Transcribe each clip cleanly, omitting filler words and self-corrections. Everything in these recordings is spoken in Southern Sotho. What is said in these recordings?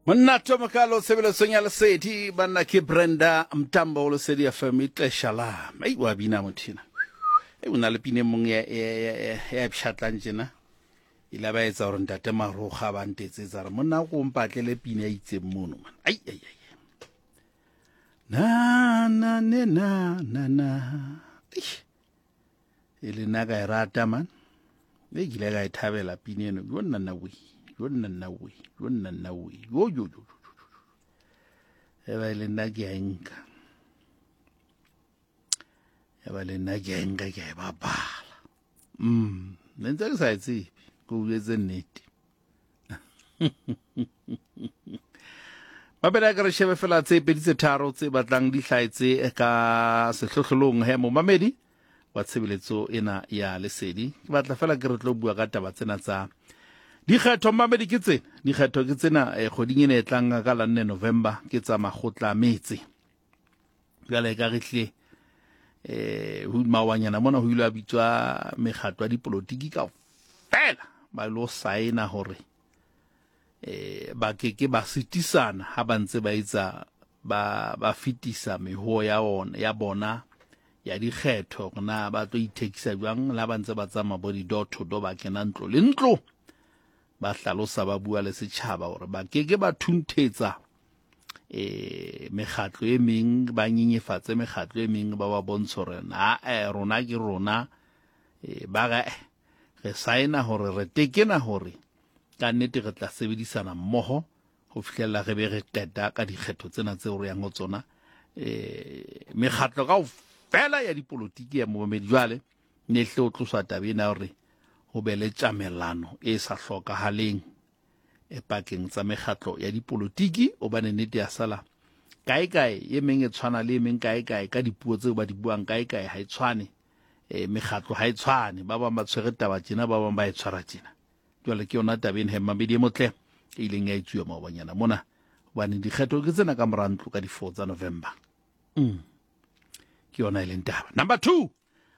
Monna Tomokalo tshebeletsong ya Lesedi banna ke Brenda Mtambo Lesedi FM ixesha lam ei wa bina mothina ei o na le pine mong ya ya ya pshatlang tjena ile ba etsa hore ntate Maroga ba ntetsetsa re monna ko mpatlele pine ya itseng mono man ai ai ai na na ne na na na e le nna ka e rata man e ke ile ka e thabela pine eno yo nna nna we yo nna nna we yo nna nna we yo yo yo e ba e le nna ke a e nka e ba le nna ke a e nka ke a e bapala ne ntse ke sa e tsebe ke uetse nnete mabele a ka re shebe fela tse pedi tse tharo tse batlang di hlaetse ka sehlohlolong he momamedi wa tshebeletso ena ya lesedi ke batla fela ke re tlo bua ka taba tsena tsa dikgetho mamedi ke tsena dikgetho ke tsena eh, kgweding ena e tlang ka la nne november ke tsa makgotla a metse jale ka re tlile um maobanyana mona ho ile a bitswa mekgatlo ya dipolotiki ka fela ba lo saena hore eh ba ke ke ba sitisana ha ba ntse ba etsa ba ba fetisa meho ya ona ya bona ya dikgetho na ba tlo ithekisa jwang la ba ntse ba tsamaya bo di-door to door ba kena ntlo le ntlo ba hlalosa ba bua le setjhaba hore ba ke ke ba thunthetsa eh mekgatlo e meng ba nyenyefatse mekgatlo e meng ba ba bontshe hore na eh, rona ke rona eh, ba re eh, re saena hore re tekena hore ka nnete re tla sebedisana mmoho ho fihlela re be re qeta ka dikgetho tsena tseo re yang ho tsona eh mekgatlo ka fela ya dipolotiki ya momamedi jwale ne hle o tloswa taba ena hore ho be le tjamelano e sa hlokahaleng e pakeng tsa mekgatlo ya dipolotiki obane nnete ya sala kae kae e meng e tshwana le e meng kae kae ka dipuo tseo ba di buang kae kae ha e tshwane e mekgatlo ha e tshwane ba bang ba tshwere taba tjena ba bang ba e tshwara tjena jwale ke yona taba ena he mamedi e motle e ileng ya etsuwa maobanyana mona hobane dikgetho ke tsena ka mora ntlo ka di-4 tsa November ke yona e leng taba number 2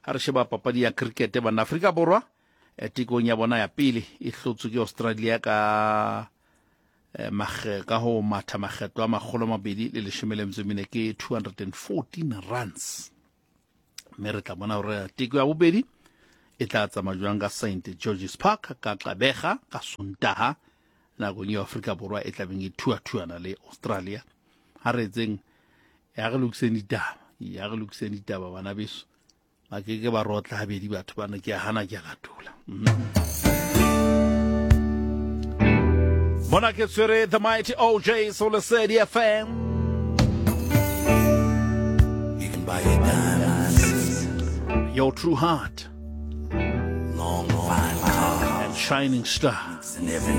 ha re sheba papadi ya cricket bana Afrika Borwa eh, tekong ya bona ya pele e hlotswe ke Australia ka eh, makge ka ho matha makgetlo a makgolo mabedi le leshome le metso e mene ke 214 runs mme re tla bona gore teko ya bobedi e tla tsamaya jwang ka St George's Park ka Qabega ka Sontaha nakong eo Afrika Borwa e tlabeng e thuathuana le Australia ha re etseng ya re lokiseng ditaba ya re lokiseng ditaba bana beso ba ke ke ba rotla habedi batho bana ke a hana ke a latola mona ke tshwere the mighty OJ so Lesedi FM You can buy your diamonds, your true heart long fine car, and shining star and everything.